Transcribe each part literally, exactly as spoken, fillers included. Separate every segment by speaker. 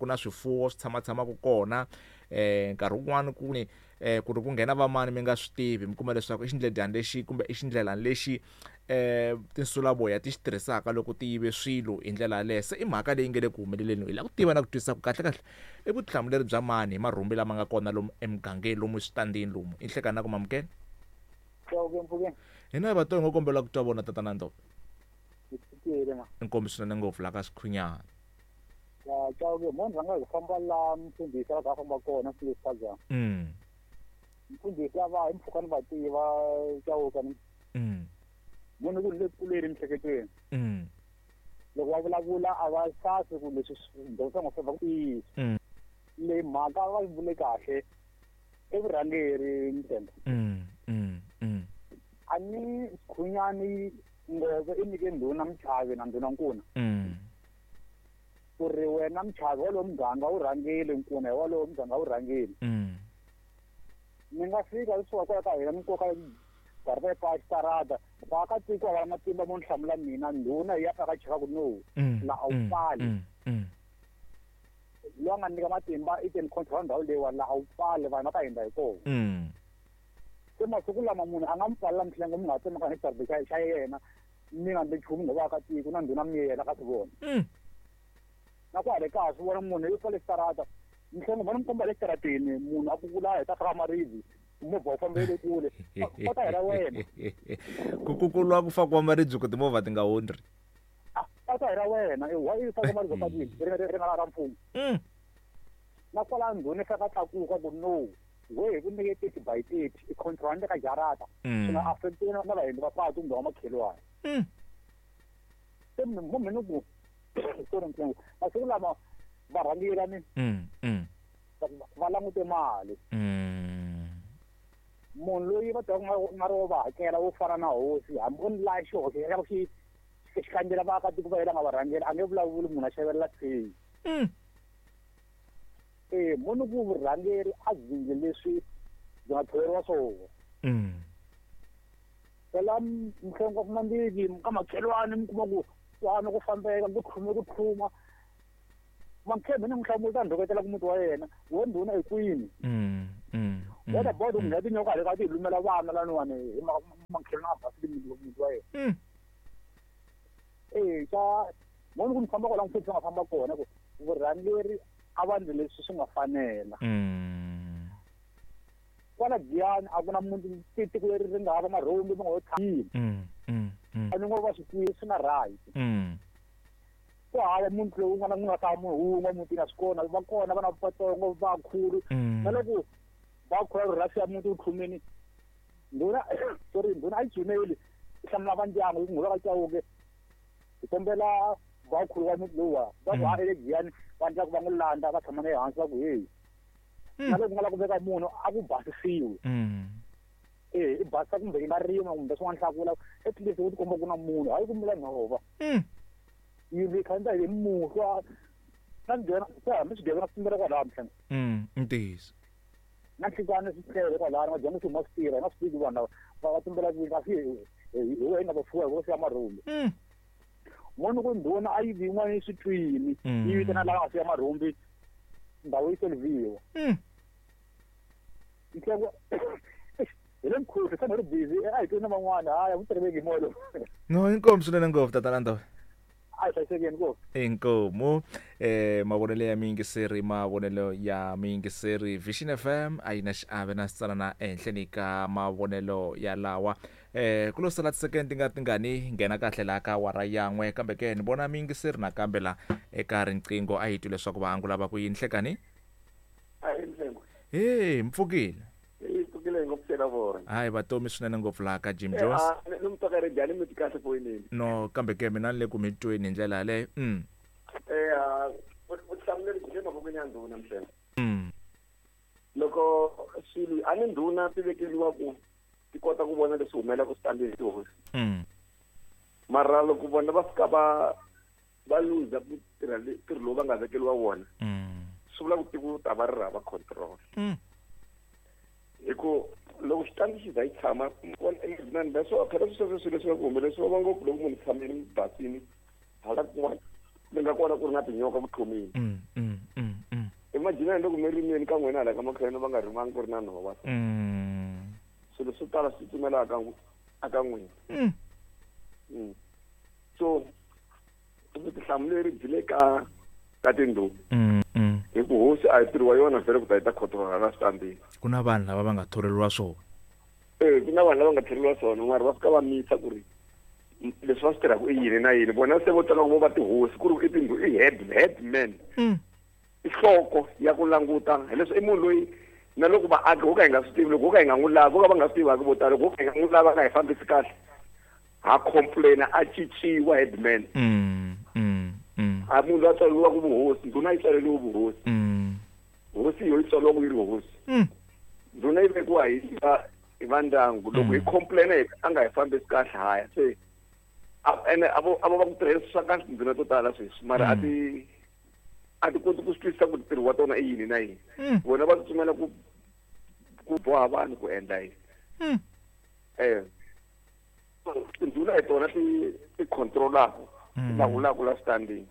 Speaker 1: Ku na swifuwo swi tshama tshamaka kona eh nkarhi wun'wani ku ni eh ku ri ku nghena vamani mi nga swi tivi, mi kuma leswaku i xindledyana lexi kumbe i xindlelani lexi eh tinsulavoya ti xi tirhisaka loko ti yive swilo hi ndlela yaleyo. Se i mhaka leyi nge le ku humeleleni, hi lava ku tiva na ku twisisa ku kahle kahle i vutihlamuleri bya mani hi marhumbi lama nga kona lomu emugangeni, lomu switandini lomu. I nhlekani na ku mamukela hina vatongo ngo kombela ku twa vona tatana Ndove. Inkomu swinene ngopfu la ka Swikhunyana.
Speaker 2: Ya Chauke, munhu a nga hi famba laha mfundhisi a famba kona swilo.
Speaker 1: Mm.
Speaker 2: Mfundhisi a va hi mpfhuka ni va tiva Chauke ni.
Speaker 1: Mm.
Speaker 2: Munhu ku le kuleni mhleketweni.
Speaker 1: Mm.
Speaker 2: Loko va vulavula a va sasi ku leswi ndonsa ngo famba ku tiyisa.
Speaker 1: Mm.
Speaker 2: Le mhaka va yi vule kahle evurhangeri mtende.
Speaker 1: Mm. Mm. Mm.
Speaker 2: A ni Khunyani Ngove i nyike ndhuna Mchavi na ndhuna Nkuna.
Speaker 1: Mm.
Speaker 2: Ku ri wena Mchavi walowo muganga wu rhangile, Nkuna hi walowo muganga wu rhangile.
Speaker 1: Mm.
Speaker 2: Mi nga fika kusuka kwala ka hina mi koka garata pa xitarata, vaakatiko a va na matimba mo ni hlamula mina, ndhuna yi ya fika cheka ku no,
Speaker 1: Mm.
Speaker 2: la a wu
Speaker 1: Mm.
Speaker 2: pfali.
Speaker 1: Mm. Mm.
Speaker 2: Loyi a nga nyika matimba i ten control ndhawu leyiwani, la a wu pfali, vanhu va ta hundza hi kona.
Speaker 1: Mm.
Speaker 2: Se masiku lama munhu a nga mi pfalela mihlengo mi nga tsemaka hi xitarata xa xa yena, mi nga ndli nchumu ngo vaakatiko na ndhuna mi yena ka swi vona.
Speaker 1: Mm.
Speaker 2: Na kwale kaya swi vona munhu i pfale xitarata, mihlengo vona mi komba le xitarateni, munhu a kukula hi ta faka maribye, movha wu fambele kule, va ta hela wena.
Speaker 1: Ku kukulwa ku fakiwa maribye ku timovha ti nga hundzi.
Speaker 2: Ah, va ta hela wena, i wa i faka maribye patwini, ri ri ri nga ra mfumo.
Speaker 1: Mm.
Speaker 2: Na kwala ndhuna i fika tlakuka ku no, we hi ku nyike thirty by thirty, i control ka jarata.
Speaker 1: Mm.
Speaker 2: Swi nga affect na na vahindi va patu kumbe va makhelwani.
Speaker 1: Mm.
Speaker 2: Se munhu munhu ku sorry mhlengo, masiku lama varhangeri ni
Speaker 1: Mm. Mm.
Speaker 2: va langute mali.
Speaker 1: Mm.
Speaker 2: Munhu loyi va tivaka nga nga ri wo va hakela wo fana na hosi, hambi o ni laya xihoxo xa ku xi xi kandzela vaakatiko va yena nga va rhangela, a nge vulavuli munhu a xavelela theyi.
Speaker 1: Mm.
Speaker 2: Eh, munhu ku vurhangeri a byi leswi byi nga tholeriwa swona.
Speaker 1: Mm.
Speaker 2: Phela mhlengo wa fumambili ka makhelwani mi kuma ku kwana ku fambeka ku tlhuma ku tlhuma. Makhembe ni n'wi hlamula ta ndhoketela ku muti wa yena, we ndhuna hi kwini?
Speaker 1: Mm. Mm.
Speaker 2: What about
Speaker 1: Mm.
Speaker 2: ku nghena tinyoka le ka ti lumela vana laniwani hi makhelwani a basile muti wa yena.
Speaker 1: Mm.
Speaker 2: Eh, xa munhu ku mi famba kwala mfundhisi a nga famba kona ku vurhangeri a va ndli leswi swi nga fanela.
Speaker 1: Mm.
Speaker 2: Kwala Giyani a ku na munhu tiko leri ri nga hava marhumbi mi nga ho tshama.
Speaker 1: Mm. Mm. Mm.
Speaker 2: A ni ngo va swi tivi swi na right.
Speaker 1: Mm.
Speaker 2: Ku hava munhu loyi un'wana ku nga ta munhu wun'we mutini a swi kona, va kona vana vatsongo vakulu.
Speaker 1: Mm.
Speaker 2: Na loko va khula ri rhasi ya muti wu tlhumini, ndhuna sorry, ndhuna a yi dzumeli, yi hlamula va ndyangu yi ku nghola ka Chauke, hi kombela vakhulu va muti lowuwa va ku
Speaker 1: Mm.
Speaker 2: ha ele Giyani va endla ku va n'wi landza va tshama na yena hansi va ku heyi.
Speaker 1: Mm.
Speaker 2: Na loko ku nga lava ku veka munhu a ku basisiwi.
Speaker 1: Mm.
Speaker 2: Eh, i basisa kumbe yi nga rima kumbe swin'wana hlakula, at least u tikomba ku na munhu, hayi ku mila nhova.
Speaker 1: Mm.
Speaker 2: Yindlu yi khandziya hi muhlwa, na nghena se hambi swigevenga swi tumbela kwalaya mhlengo.
Speaker 1: Mm, ntiyiso.
Speaker 2: Na nhlikani swi tlele kwalaya, va dyondza swi huma swi tirha, hi nga swi tivi vanhu lava va va tumbela kwini, kasi hi hi hi wehe nga va fuwa hi vo siya marhumbi.
Speaker 1: Mm.
Speaker 2: Munhu ku ndhuna a yi vi yin'wana yi swi twini,
Speaker 1: Mm.
Speaker 2: yi vitana lava nga siya marhumbi, ndhawu yi solviwa.
Speaker 1: Mm.
Speaker 2: Nhleko hi le mkhuhlu, se ni ri busy, a hi tweni na van'wana, hayi a ku tirheki hi moya lowu.
Speaker 1: No, inkomu swinene ngopfu tatana Ndove.
Speaker 2: A hi hlayisekeni ngopfu.
Speaker 1: Inkomu eh mavonelo ya miyingiseri, mavonelo ya miyingiseri Vision F M a yi na xiave na xitsalana ehenhleni ka mavonelo ya lawa. Eh ku lo sala tisekende ti nga tingani nghena kahle laha ka awara yan'we, kambe ke ni vona miyingiseri nakambe la eka riqingho a hi twi leswaku va angula va ku yini. Nhlekani?
Speaker 3: A hi Mhlengo.
Speaker 1: He, mpfukile.
Speaker 3: Hi pfukile hi ngo pfuxela vona.
Speaker 1: Hayi vatomi swinene ngopfu laha ka Jim
Speaker 3: Eh,
Speaker 1: Jones.
Speaker 3: ah, ni mi twa ka radio, a ni mi twi kahle foyinini.
Speaker 1: No, kambe ke mina ni le ku mi tweni hi ndlela yaleyo. Mm.
Speaker 3: Eh, ah, vutihlamuleri byi le mavokweni ya ndhuna Mhlengo.
Speaker 1: Mm.
Speaker 3: Loko swilo a ni ndhuna ti vekeriwa ku ti kota ku vona leswi humelelaka switandini hi tihosi.
Speaker 1: Mm.
Speaker 3: Mara loko vona va fika va va luza ku tirha le ntirho lowu va nga vekeriwa wona,
Speaker 1: Mm.
Speaker 3: swi vula ku tiko ta va ri hava control.
Speaker 1: Mm.
Speaker 3: Hi ku loko xitandi xi za yi tshama emidzinani leswo phela sweswo swilo leswi nga ku humelesiwa va ngopfu loko munhu tshamile basini hala kun'wana mi nga kona ku ri na tinyoka ku tlhumile.
Speaker 1: Mm, mm, mm,
Speaker 3: Imagine loko mi rimini ka n'wina hala ka makhelwani va nga rimangi ku ri na nhova.
Speaker 1: Mm.
Speaker 3: Swilo swo tala swi tsutsumela aka aka n'wina.
Speaker 1: Mm.
Speaker 3: Mm. So vutihlamuleri byi le ka ka tindhuna.
Speaker 1: Mm. Mm.
Speaker 3: Hi ku hosi a hi ntirho wa yona vhele ku ta yi ta khotola la switandini.
Speaker 1: Ku na vanhu lava va nga thoreriwa swona.
Speaker 3: Eh, ku na vanhu lava nga thoreriwa swona mara va fika va misa ku ri leswi va swi tirhaka i yini na yini. Vona se vo tala ku vo va tihosi ku ri i tindhu i head headman.
Speaker 1: Mm.
Speaker 3: I nhloko ya ku languta hileswi i munhu loyi na loko vaaki ho ka hi nga swi tivi loko ho ka hi nga n'wi lavi vo ka va nga swi tivaki vo tala loko ho ka hi nga n'wi lavi a nga hi fambisi kahle ha complain a cinciwa headman.
Speaker 1: Mm. Mm. Mm.
Speaker 3: A munhu loyi a tswaleriwaka vuhosi ndhuna yi tswaleriwe vuhosi.
Speaker 1: Mm.
Speaker 3: Hosi yo yi tswariwa yi ri hosi.
Speaker 1: Mm.
Speaker 3: Ndhuna yi vekiwa hi va hi va ndyangu loko hi complain a nga hi fambisi kahle haya se ene a vo a vo va ku tirhisa swa kahle tindhuna to tala sweswi mara a ti a ti koti ku swi twisisa ku ntirho wa tona i yini na yini. Vona va tsutsumela ku ku boha vanhu ku endla yini. Eh tindhuna hi tona ti ti control-aka ti lawulaka la switandini.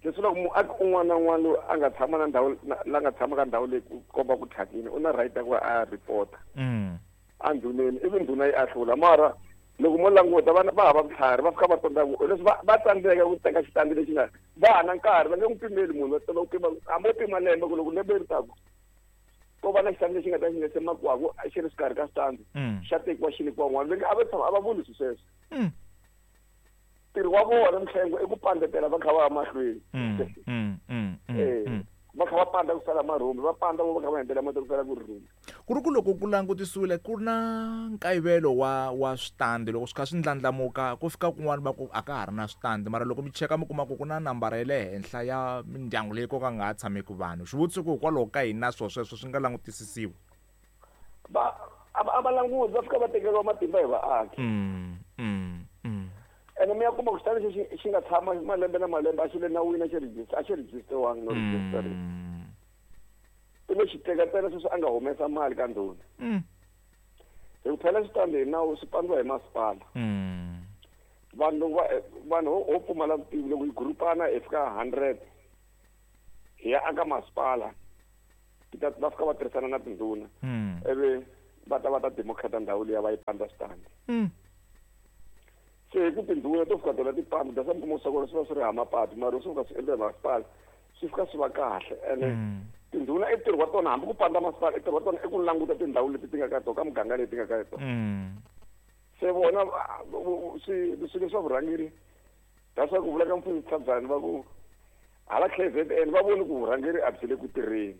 Speaker 3: Leswi loko muaki un'wana na un'wana loyi a nga tshama na ndhawu la nga tshama ka ndhawu leyi ku komba ku thyakile u na right ya ku a report-a endhuneni ivi ndhuna yi ahlula. Mara loko mo languta vana va hava vutlhari va fika va tonda leswi va va tsandzeka ku teka xitandi lexi nga va ha na nkarhi va nge n'wi pimeli munhu va tala ku pima hambi wo pima lembe ku loko lembe ri taku ko va na xitandi lexi nga ta xi nga se makwako xi ri xikarhi ka xitandi xa tekiwa xi nyikiwa n'wana va a va tshama a va vuli swilo sweswo. Ntirho wa vona mihlengo i ku pandzetela va kha va ya mahlweni. Va kha va panda ku sala marhumbi va panda vo va kha va endlela mati ku sala ku ri rhumbi.
Speaker 1: Ku ri ku loko ku langutisiwile ku na nkayivelo wa wa switandi loko swi kha swi ndlandlamuka ku fika kun'wana va ku a ka ha ri na switandi mara loko mi cheka mi kuma ku ku na nambara ya le henhla ya mindyangu leyi ko ka nga ha tshameki vanhu. Xivutiso ku hikwalaho ka yini na swona sweswo swi nga langutisisiwi?
Speaker 3: Va a va languti va fika va tekeriwa matimba hi vaaki.
Speaker 1: Mm, mm, mm.
Speaker 3: Ene mi ya kuma ku xitandi xi xi nga tshama malembe na malembe a xi le nawini a xi register a xi register-wangi no register. I lo xi teka ntsena sweswi a nga humesa mali ka ndhuna. Hi ku phela xitandi hi nawu swi pandziwa hi masipala. Vanhu loko va vanhu ho pfumala vutivi loko hi gurupana hi fika hundred hi ya aka masipala ti ta va fika va tirhisana na tindhuna ivi va ta va ta democrata ndhawu liya va yi pandza xitandi. Se hi ku tindhuna to fika tona ti panda that's why mi kuma swa kona swi va swi ri hava mapatu mara swi fika swi endla hi masipala swi fika swi va kahle ene tindhuna i ntirho wa tona hambi ku panda masipala i ntirho wa tona i ku languta tindhawu leti ti nga ka tona ka muganga leyi ti nga ka tona. Se vona swi swilo swa vurhangeri that's why ku vula ka mfundhisi Tlhabane va ku hala K Z N va voni ku vurhangeri a byi le ku tirheni.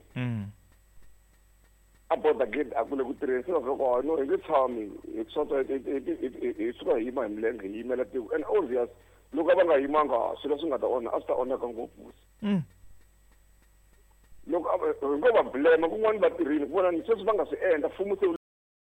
Speaker 3: A border gate a ku le ku tirheni se va fika ku no hi nge tshami hi swota hi suka hi yima hi milenge hi yimela tiko and obvious loko va nga yimanga swilo swi nga ta onha a swi ta onhaka ngopfu. Loko hi ngo va blame kun'wana va tirhile ku vona ni sweswi va nga swi endla mfumo se